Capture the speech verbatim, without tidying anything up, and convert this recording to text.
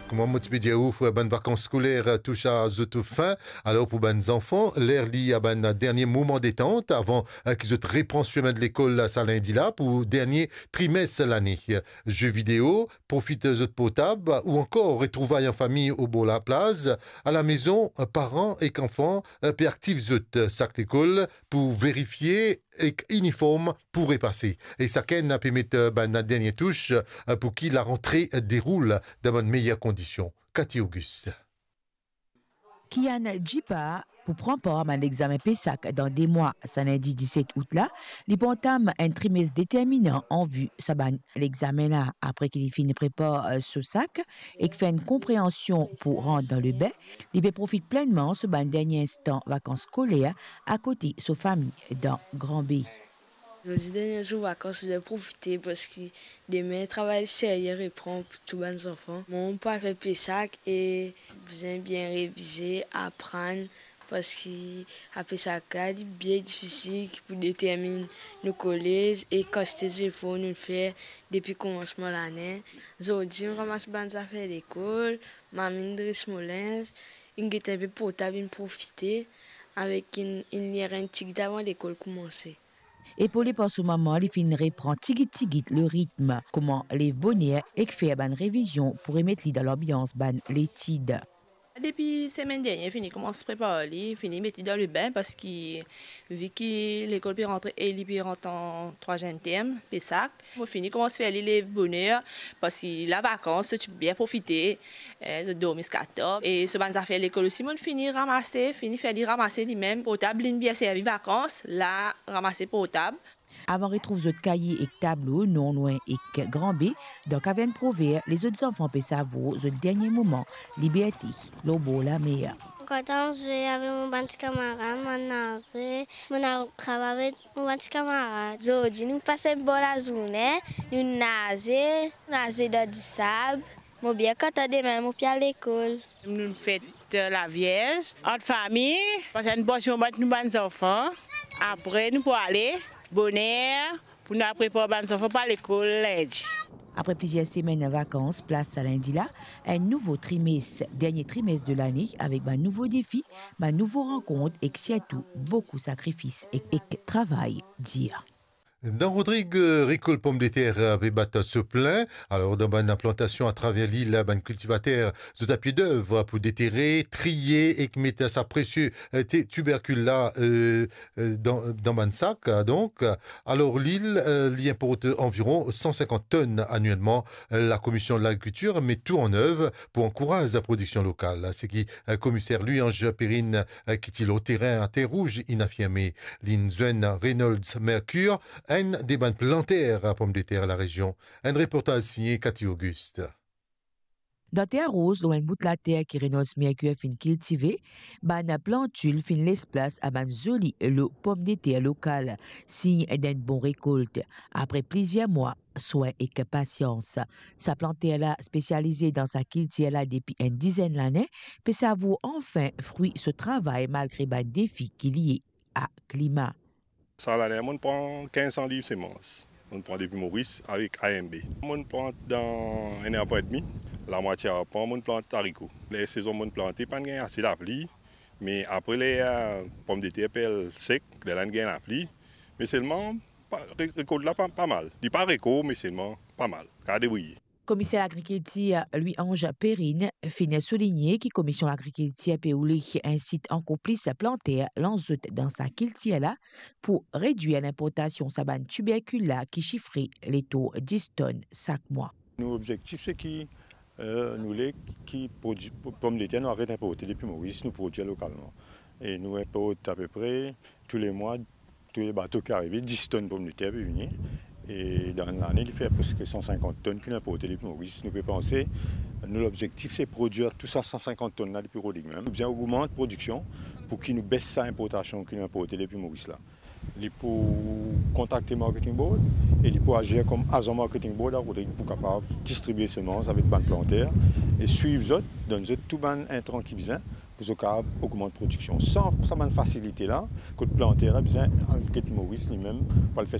Kouma mo ti pe dir ou, bann vakans skoler touch a zot fin. Alor pou bann zanfan, ler li a bann dernie moman detant avan, eh, ki zot repran semin de lekol sa lindi la pou dernie trimes lane. Ze video, profit zot portab ou ankor retrouv an fami obor laplaz. Alamezon, paran ek anfan, eh, pe aktiv zot sak lekol pou verifie ek iniform pou repase. E sakenn pe met, eh, bann dernie tous, eh, pou ki larantre deroul dan bann meyer kondision. Cathy Auguste. Kian Djipa pou pran par bann lexamen PESAC dan de mwa, sa lindi diset out la, li pou antam enn trimes determinan an vi sa bann lexamen la. Apre ki li finn prepar, eh, so sak ek fer enn konpreansion pou rant dan lebin, li pe profit plennman so bann dernie instan vakans skoler akote so fami dan Gran Be. Zordi dernie zour vakans, bizin profite parski demin travay serye repran pou tou bann zanfan. Mwa, mo pou al fer PESAC e bizin bien revize, aprann, parski sa PESAC la, li bien difisil ki pou determinn nou kolez e kantite zefor nou fer depi koumansman lane. Zordi, mo ramas bann zafer lekol, mo amenn dres mo linz, inn get enpe portab, inn profite avek inn, inn lir enn tigit avan lekol koumanse. Epole par so mama, li finn repran tigit tigit le ritm, kouma lev boner ek fer bann revizion pou remet li dan lanbians bann letid. Depi semenn dernie, fini koumans prepar li, fini met li dan lebin, parski vi ki lekol pe rantre e li pe rant an trwaziem term, PESAC, mo fini koumans fer li lev boner, parski la vakans, so ti bien profite, eh, zot dormi ziska tar. E so bann zafer lekol osi, mo fini ramase, fini fer li ramase limem. Portab linn bien servi vakans, la ramase portab. Avan retrouv zot kaye ek tablo non lwin ek Gran Be, dan kavern Prover, lezot zanfan pe savour zot dernie moman liberte lor bor lamer. Mo kontan zwe avek mo bann ti kamarad, mo naze, mo al krab avek mo bann ti kamarad. Zordi nou pas enn bon lazourne, nou naze, nou al zwe dan disab. Mo bien kontan, demin mo pe al lekol. Nou fet Lavierz, ant fami, pas enn bon ti moman avek nou bann zanfan. Apre nou pou ale boner pou nou al prepar bann zanfan pou al lekol lindi. Apre plizier semenn vakans, plas sa lindi la, enn nouvo trimes, dernie trimes de lane, avek bann nouvo defi, bann nouvo rankont ek sirtou boukou sakrifis ek, ek travay dir. Dan Rodrig, eh, rekolt pomdeter, eh, pe bat so plin. Alor, dan bann plantasion atraver lil, bann kiltivater zot a pie dev pou detere, triye ek met sa presie, eh, ti-, tiberkil la, eh, eh, dan, dan bann sak, eh, donk. Alor, lil, eh, li inport anviron san sinkant tonn anielman. Eh, Lakomision Lagrikiltir met tou an ev pou ankouraz laprodiksion lokal. Seki, eh, komiser Louis-Ange Perrine, eh, ki ti lor terin a Terre Rouge, inn afirme. Linn zwenn Reynolds Mercure, enn de bann planter pomdeter larezion. Enn reportaz signe Cathy Auguste. Dan Terre Rouge, lor enn bout later ki Reynolds Mercure finn kiltive, bann plantil finn les plas a bann zoli lo pomdeter lokal, sign d'enn bon rekolt. Apre plizier mwa swin ek pasians, sa planter la spesialize dan sa kiltir la depi enn dizenn lane, pe savour anfin fri so travay malgre bann defi ki lie a klima. Sa lane, mo'nn pran kinz san liv semans. Mo'nn pran depi Moris avek A M B. Mo'nn plant dan enn arpan edmi, lamwatie arpan, mo'nn plant zariko. Ler sezon mo'nn plante, pa'nn gagn ase lapli, me apre ler, eh, pomdeter pe al sek, lerla inn gagn lapli. Me selman, pa, re-, rekolt la pa, pa mal. Li pa rekor, me selman pa mal. Kapav debriye. Komiser Lagrikiltir Louis-Ange Perrine finn souligne ki Komision Lagrikiltir pe oule insit ankor plis planter lans zot dan sa kiltir la pou redwir linportasion sa bann tiberkil la ki sifre letor dis tonn sak mwa. Nou obzektif se ki, eh, nou le ki prodwi, pomdeter nou aret inporte depi Moris, nou prodwir lokalman. E nou inport apepre tou le mwa, tou le bato ki arive, dis tonn pomdeter pe vini. E dan enn lane, li fer preske san sinkant tonn ki nou inporte depi Moris. Nou pe panse, nou lobzektif se prodwir tou sa san sinkant tonn la depi Rodrig mem. Nou bizin ogmant prodiksion pou ki nou bes sa inportasion ki nou inporte depi Moris la. Li pou kontakte Marketing Board e li pou azir kom azan Marketing Board a Rodrig pou kapav distribie semans avek bann planter e swiv zot, donn zot tou bann intran ki bizin pou zot kapav ogmant prodiksion. San sa bann fasilite la, kot planter la bizin al get Moris limem pou al fer